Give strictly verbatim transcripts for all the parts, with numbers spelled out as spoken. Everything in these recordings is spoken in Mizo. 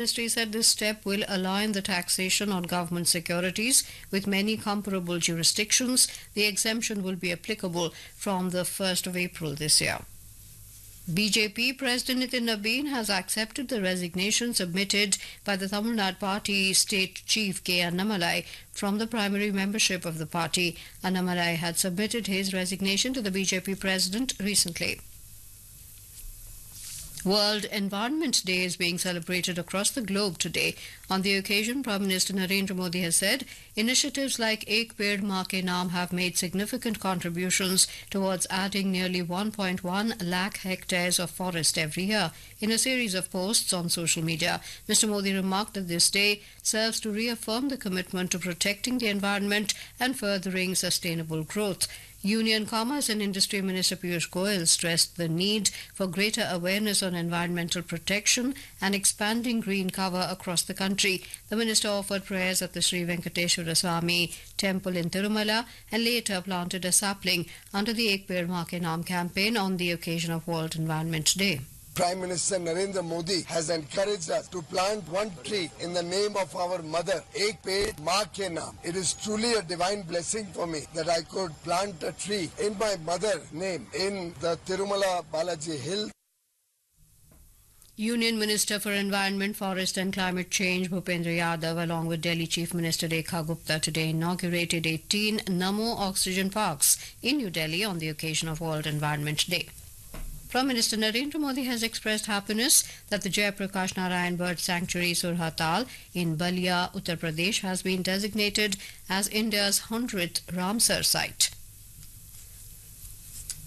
Ministry said this step will align the taxation on government securities with many comparable jurisdictions. The exemption will be applicable from the first of April this year. B J P President Nitin Nabin has accepted the resignation submitted by the Tamil Nadu Party State Chief K. Annamalai from the primary membership of the party. Annamalai had submitted his resignation to the B J P president recently. World Environment Day is being celebrated across the globe today. On the occasion, Prime Minister Narendra Modi has said initiatives like Ek Ped Maa Ke Naam have made significant contributions towards adding nearly one point one lakh hectares of forest every year. In a series of posts on social media, Mister Modi remarked that this day serves to reaffirm the commitment to protecting the environment and furthering sustainable growth. Union Commerce and Industry Minister Piyush Goyal stressed the need for greater awareness on environmental protection and expanding green cover across the country. The minister offered prayers at the Sri Venkateswara Swami temple in Tirumala and later planted a sapling under the Ek Ped Maa Ke Naam campaign on the occasion of World Environment Day. Prime Minister Narendra Modi has encouraged us to plant one tree in the name of our mother, Ek Ped Maa Ke Naam. It is truly a divine blessing for me that I could plant a tree in my mother's name in the Tirumala Balaji Hill. Union Minister for Environment, Forest and Climate Change Bhupendra Yadav along with Delhi Chief Minister Rekha Gupta today inaugurated eighteen Namo Oxygen Parks in New Delhi on the occasion of World Environment Day. Prime Minister Narendra Modi has expressed happiness that the Jayaprakash Narayan Bird Sanctuary Surhatal in Balia, Uttar Pradesh has been designated as India's hundredth Ramsar site.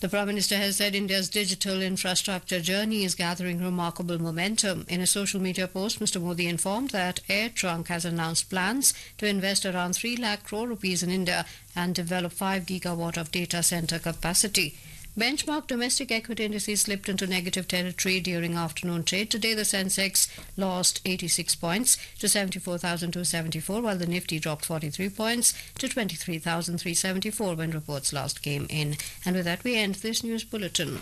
The Prime Minister has said India's digital infrastructure journey is gathering remarkable momentum. In a social media post, Mister Modi informed that AirTrunk has announced plans to invest around three lakh crore rupees in India and develop five gigawatt of data center capacity. Benchmark domestic equity indices slipped into negative territory during afternoon trade. Today, the Sensex lost eighty-six points to seventy-four thousand two hundred seventy-four, while the Nifty dropped forty-three points to twenty-three thousand three hundred seventy-four when reports last came in. And with that, we end this news bulletin.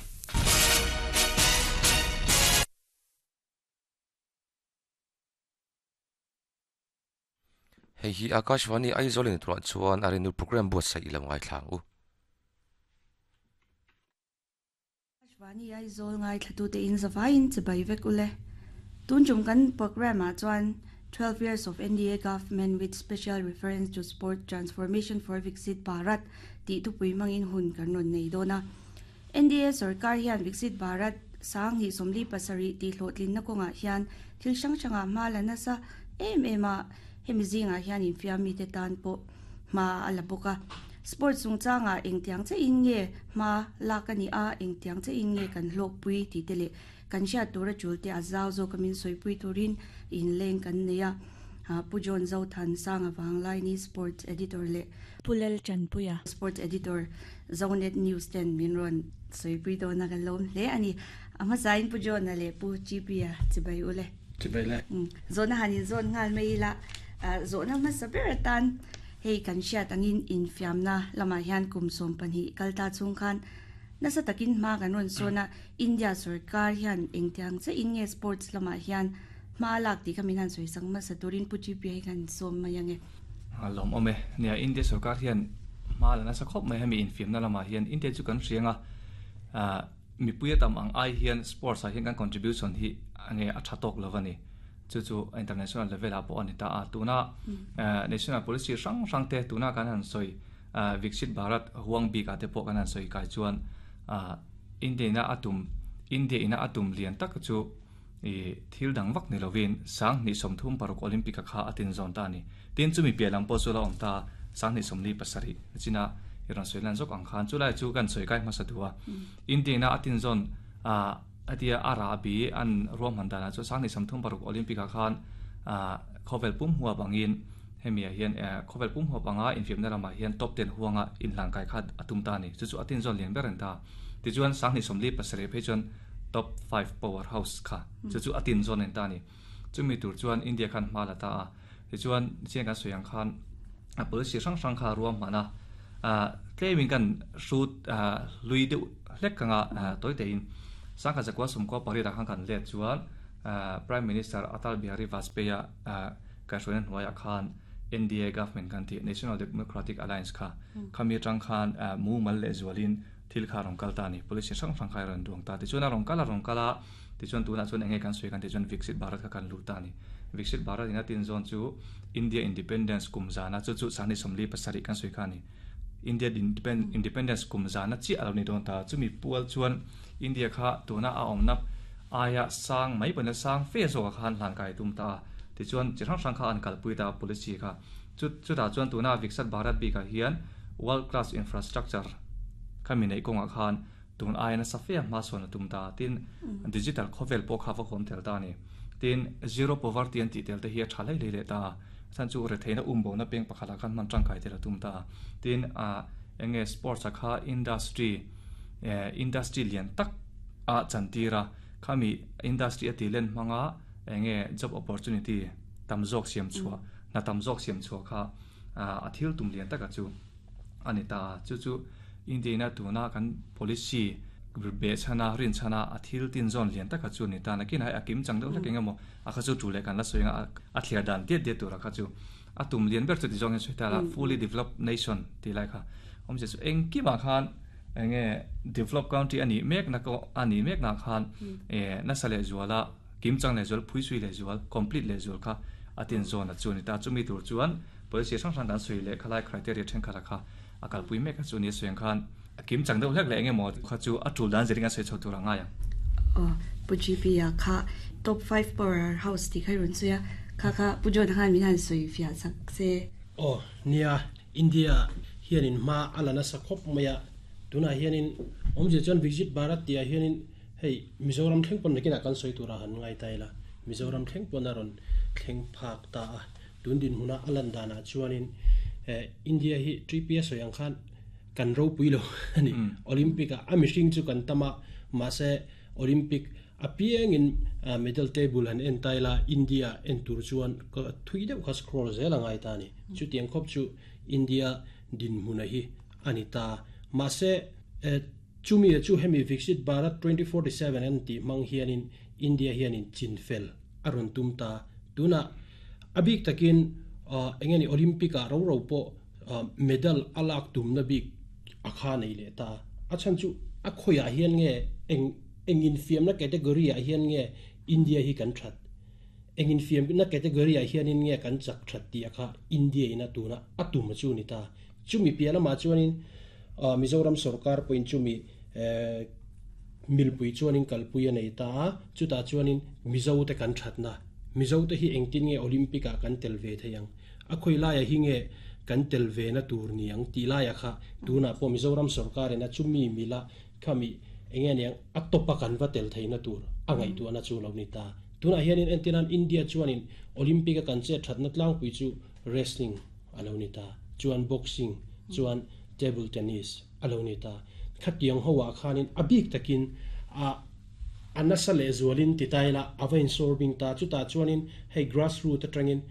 Hei hi Akashvani Aizawl in tuah chuan arinu program buatsaih ilo ngai thlang u. Vani Aizawl ngai thlatu te in zavain chibai vek ule. Tunjum kan program a chuan twelve years of N D A government with special reference to sport transformation for Viksit Bharat ti tu pui mangin hun kan ron nei dona. N D A sarkar hian Viksit Bharat sang hi somli pasari ti hlotlin na konga hian thil sang sanga ma la na sa em ema hemi zinga hian in fiami te tan po ma ala boka. Sports sung changa eng tiang che in nge ma la ka ni a eng tiang che in nge kan hlok pui ti te le kan sha tura chul te azaw zo kamin soi pui turin in leng kan neya ha pujon zo than sang awang lai ni sports editor le Pulel Chanpuya sports editor Zonet News ten min ron soi pui do na kan lom le ani ama zain pujon na le pu chipia chibai ule chibai le zona hanin zon ngal mei la zona ma saber tan hei kan sia tangin in fiamna lama hian kum som panhi kalta chung khan nasa takin ma kan ron sona India sarkar hian engtiang che in nge sports lama hian ma lak ti khamin han soi sang ma saturin puchi pi kan som ma yange alom ome nia India sarkar hian ma la nasa khop mai hemi in fiamna lama hian India chu kan hrianga a mi puya tam ang ai hian sports a hian kan contribution hi ange a thatok lovani chu chu international level a po ani ta a tuna national policy rang rang te tuna kan han soi Viksit Bharat huang bi ka te po kan han soi kai chuan India na atum India ina atum lian tak chu e thil dang vak ni lovin sang ni somthum paruk Olympic kha atin zon ta ni tin chu mi pialam po chu la om ta sang ni somli pasari china iran soilan jok ang khan chu lai chu kan soi kai ma sa duwa India na atin zon a atia arabi an rom han dana chu sang ni samthum paruk Olympic khan a khovel pum huwa bangin hemia hian khovel pum huwa banga in fiamna lama hian top ten huanga in langkai khat atum ta ni chu chu atin zon lian beren ta ti chuan sang ni somli pasare phe chuan top five powerhouse kha chu chu atin zon en ta ni chumi tur chuan India khan hmala ta a ti chuan chian kan soyang khan a policy sang sang kha ruam mana a claiming kan shoot lui de hlek kanga toite in sangkha zakwa sumko pari ra khang kan le chuan Prime Minister Atal Bihari Vajpayee ka hruaina hnuaiah khan N D A government kan ti National Democratic Alliance kha khami atang khan mumal leh zualin thil kha rawng kal ta ni policy hrang hrang kha rawn duang ta ti chuan a rawng kal a rawng kala ti chuan tunah chuan enge kan sawi kan ti chuan Viksit Bharat kha kan lut ta ni Viksit Bharat ina tin zawn chu India Independence kum zana chu chu sani somli pasarih kan sawi kha ni India Independence kum zana chi alo ni dawn ta chumi pual chuan India kha tuna a awmna aya sang mai pana sang fe zo khan hlan kai tum ta ti chuan chi hrang hrang kha an kalpui ta policy kha chu chu ta chuan tuna Viksit Bharat bi ka hian world class infrastructure khami nei konga khan tun aina safia ma sona tum ta tin digital khovel po kha va khom tel ta ni tin zero poverty an ti tel te hi thalai le le ta chan chu re theina umbo na peng pakhala khan man tangkai tel tum ta tin a enge sports kha industry industry lian tak a chantira khami industry ati len manga enge job opportunity tamjok siam chua na tamjok siam chua kha a thil tum lian taka chu ani ta chu chu India na tuna kan policy be chana rin chana a thil tin zon lian taka chu ni ta nakin hai akim chang deuh hlek engemaw a kha chu tule kan la soinga a thliar dan tiat tiat tura kha chu a tum lian ber chu ti zong en ta la fully developed nation ti lai kha om che chu engki ma khan enge developed country ani mek na ko ani mek na khan e na sale zuala kim chang le zual phui sui le zual complete le zual kha atin zon a chu ni ta chumi tur chuan policy sang sang dan sui le khalai criteria then khala kha akal pui mek chu ni suang khan kim chang deuh hlek le enge mo kha chu a tul dan zeringa sei chhotura nga ya o pu G P ya kha top five power house ti khai run chuya kha kha pu jon khan min han sui fia sak se o nia India hianin ma alana sakhop maya tuna hianin omje chon Viksit Bharat tia hianin hei Mizoram thleng pon nekina kan soi tura han ngai taila Mizoram thleng pon aron thleng phak ta tun din huna alan dana chuanin India hi T P S soyang khan kan ro puilo ani Olympic a mishing chu kan tama ma se Olympic apiang in medal table han en taila India en tur chuan thui deuh kha scroll zel angai ta ni chu tiang khop chu India din huna hi ani ta ma se chumi chu hemi Viksit Bharat twenty forty-seven an ti mang hianin India hianin chinfel aron tum ta tuna abik takin engeni Olympic a ro ro po medal alak tum na bik akha nei le ta achan chu a khoya hian nge eng engin fiam na category a hian nge India hi kan that engin fiam na category a hian in nge kan chak that ti akha India ina tuna atum chu ni ta chumi piala ma chuanin Mizoram sarkar point chumi milpui chuanin kalpui nei ta chuta chuanin Mizo te kan that na Mizo te hi engtin nge Olympic a kan tel ve theiang a khoi lai a hi nge kan tel ve na tur niang ti lai a kha tuna po Mizoram sarkar ena chumi mila khami enge niang a topa kan va tel theina tur angai tu ana chu lo ni ta tuna hianin entinan India chuanin Olympic a kan che thatna tlang pui chu wrestling alo ni ta chuan boxing chuan table tennis alo ni ta khatiang howa khanin abik takin a anasa le zualin titaila avain sorbing ta chu ta chuanin hei grassroots atangin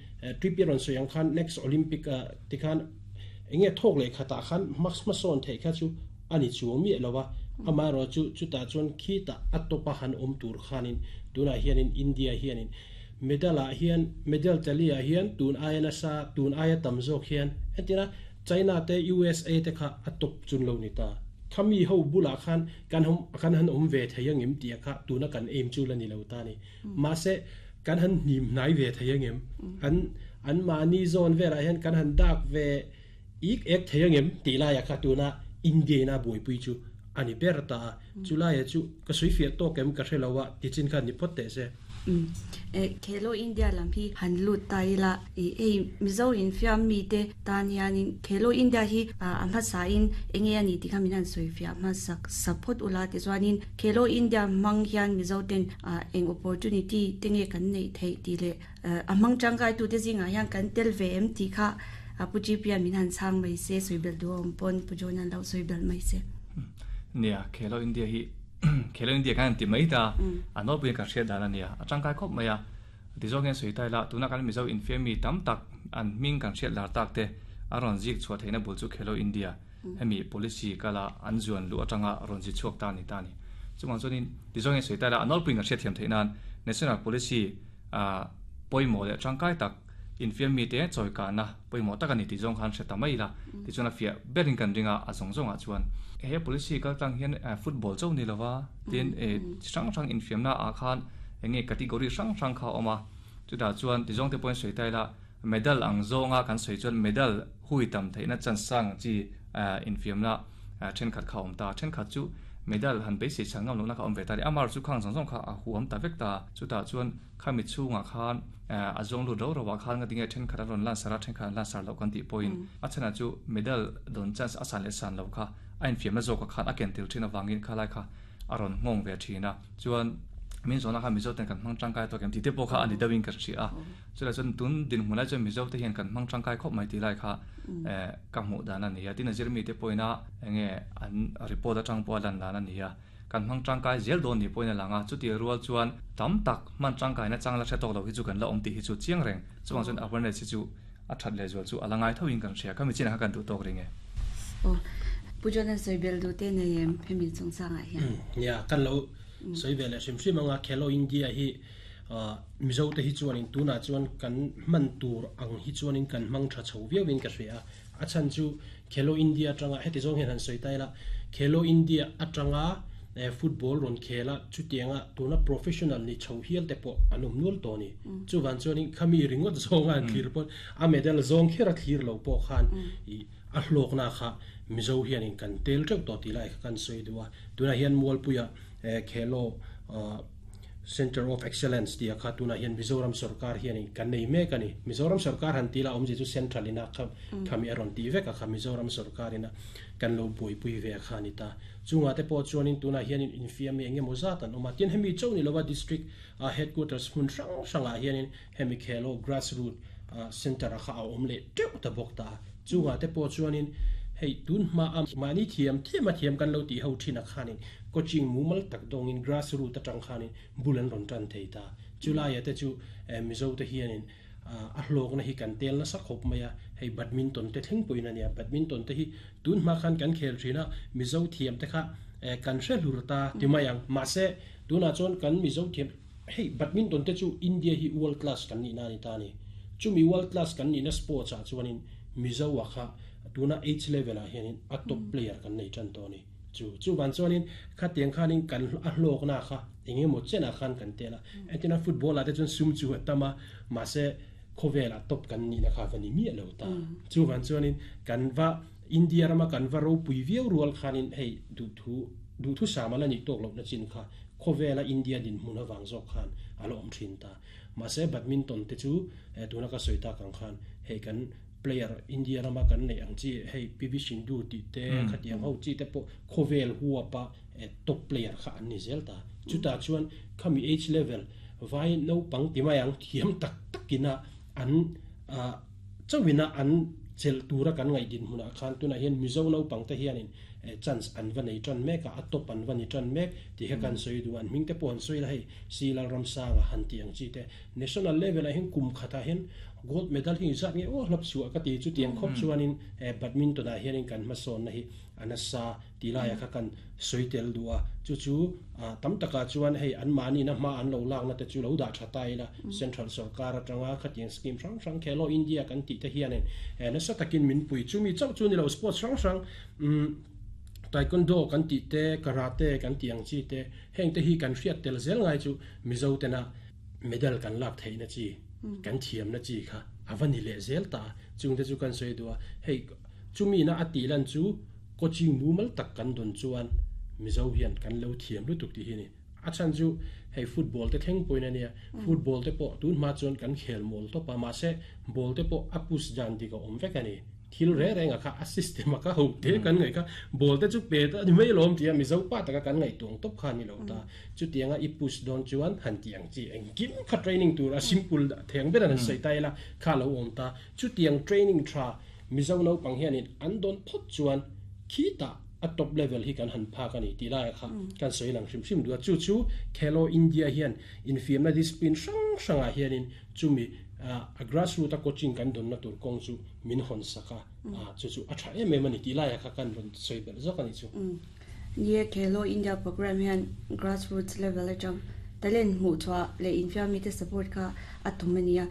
tripiron soyang khan next Olympic tikhan enge thok le khata khan max mason thei kha chu ani chu mi lowa ama ro chu chu ta chuan khi ta atopa han om tur khanin tuna hianin India hianin medal a hian medal talia hian tun ayana sa tun aya tamzok hian entina China te U S A te kha atop chun lo ni ta khami ho bula khan kan hom kan han om ve thayang em tia kha tuna kan em chu la ni lo ta ni ma se kan han nim nai ve thayang em an an ma ni zone ve ra hian kan han dak ve ik ek thayang em ti la ya kha tuna India na boi pui chu ani berta chula ya chu ka sui fi to kem ka thelawa ti chin khan ni pot te se um e Khelo India lam hi han lut tai la e e Mizo in fiam mi te tan hianin Khelo India hi a ma sa in enge ani ti khamin han soi fiam ma sak support ula te chuanin Khelo India mang hian Mizo ten eng opportunity tenge kan nei thei ti le amang changkai tu te zinga hian kan tel ve em ti kha apu G P min han chang mai se soibel duom pon pujonan lo soibel mai se nia Khelo India hi Khelo India kan ti mai ta ano pui ka hria dan ania atangkai khop maya ti zawng hian sui tai la tuna kan Mizo infemi tam tak an ming kan hriat lar tak te aron zik chhuah theihna bul chu Khelo India hemi policy kala an zuan lu atanga ron zi chhuak ta ni ta ni chumang chuanin ti zawng hian sui tai la anol pui ka hriat thiam theih nan National policy a poimo le tangkai tak infiam mi te choi ka na poimo tak ani ti jong khan se tamai la ti chuna fia berin kan ringa a zong zong a chuan he policy kal tang hian football chau ni lova tin e sang sang infiam na a khan enge category sang sang kha oma chuta chuan ti jong te point sei tai la medal ang zonga kan sei chuan medal hui tam theina chan sang chi infiam na then khat kha om ta then khat chu medal han be se changam lo na kha om ve ta ri amar chu khang jong jong kha a huam ta vek ta chuta chuan khami chunga khan a zong lu ro ro wa khan nga dinge then khat ron lan sara then khat lan sar lo kan ti point a chana chu medal don chance a san le san lo kha a infiam na zo ka khan a ken til thina wangin khalai kha aron ngong ve thina chuan min zona kha mizo ten kan mang tangkai to kem ti te po kha ani dawin ka chi a chula chun tun din hmuna chu mizo te hian kan mang tangkai khop mai ti lai kha e ka mu dan ani ya tin zirmi te poina enge an report atang po lan lan ani ya kan mang tangkai zel don ni poina langa chu ti rual chuan tam tak man tangkai na changla the tok lo hi chu kan la om ti hi chu chiang reng chuang chun awareness hi chu a that le zual chu alangai thoin kan sia kami china kan du tok ringe o pujona soibel du te ne yem phemi chung sanga hian ya kan lo soibel sim sim anga Khelo India hi mizo te hi chuan in tuna chuan kan man tur ang hi chuan in kan mang tha chho viau in ka hria a chan chu Khelo India tanga heti zong hian han soi tai la Khelo India atanga football ron khela chutianga tuna professional ni chho hial te po anum nul to ni chuwan chuan in khami ringot zonga thlir pon a medal zong khera thlir lo po khan i a hlok na kha mizo hian in kan tel teuh to ti lai kan soi duwa tuna hian mualpuia Khelo Center of Excellence tia kha tuna hian Mizoram sarkar hian in kan nei mek ani Mizoram sarkar han tila omji chu central ina kha khami aron ti vek a kha Mizoram sarkar ina kan lo bui pui ve kha ni ta chunga te po chuan in tuna hian in infiam mi enge mozat an oma tin hemi choni lova district headquarters hmun hrang hranga hian in hemi Khelo grassroots center kha a om le teuh ta bawk ta chunga te po chuan in hei tun ma am mani thiam thiam a thiam kan lo ti ho thina khanin coaching mumal tak dong in grassroots atang khanin bulan ron tan thei ta chulai te chu mizo te hianin a hlok na hi kan tel na sak khop maya hei badminton te thleng puina nia badminton te hi tun ma khan kan khel thina mizo thiam te kha kan hre hlur ta ti mayang ma se tuna chon kan mizo thiam hei badminton te chu India hi world class kan ni na ni ta ni chumi world class kan ni na sports a chuanin mizo wa kha tuna age level a hianin a top player kan nei tan to ni chu chu ban chuanin kha tiang khanin kan a hlok na kha enge mo chena khan kan tela etina football a te chun sum chu tama ma se khowela top kan ni na kha vani mi lo ta chu ban chuanin kan va India rama kan va ro pui viau rual khanin hei du thu du thu samala ni tok lo na chin kha khowela India din hmuna wang zo khan alo om thin ta ma se badminton te chu tuna ka soita kang khan hei kan player India rama kan nei ang chi hei P V Sindhu ti te khatiang ho chi te po khovel huwa pa top player kha an ni zel ta chuta chuan khami age level vai no pang ti mayang thiam tak takina an chawina an chel tura kan ngai din hmuna khan tuna hian mizo no pang te hianin chance an va nei tran mek a top an va ni tran mek ti he kan soi du an ming te pon soi la hei silal ram sanga han ti ang chi te national level a hin kum khata hin gold medal hi zat nge o hlap su ka ti chu tiang khop chuanin badminton a hianin kan ma son na hi anasa tilaya kha kan soitel duwa chu chu tam taka chuan hei an mani na ma an lo lak na te chu lo da thatai la central sarkar atanga khatiang scheme hrang hrang Khelo India kan ti te hianin na sa takin min pui chu mi chau chu ni lo sports hrang hrang taekwondo kan ti te karate kan tiang chi te heng te hi kan hriat tel zel ngai chu mizo te na medal kan lak theina chi kan thiam na chi kha awani le zel ta chung te chu kan soi duwa hei chumi na ati lan chu coaching mumal tak kan don chuan mizo hian kan lo thiam lu tuk ti hi ni a chan chu hei football te thleng poina nia football te po tun ma chuan kan khel mol to pa ma se ball te po apus jan di ka om vek ani thil re re nga kha a system ka ho te kan ngai kha ball te chu pe ta ni mai lom tia mizo pa ta ka kan ngai tuang top kha ni lo ta chu tianga i push don chuan han tiang chi eng kim kha training tur a simple da theng ber an sei tai la kha lo om ta chu tiang training tha mizo no pang hian in an don phot chuan khi ta a top level hi kan han pha ka ni ti lai kha kan soi lang hrim hrim du chu chu Khelo India hian infiam na discipline hrang hranga hianin chumi a grassroots coaching kan don na tur kong chu min hon saka a chu chu a tha em em ani ti lai kha kan ron soi bel zok ani chu ye Khelo India program hian grassroots level atang Talent mu chwa le in fiam mi te support kha atumania.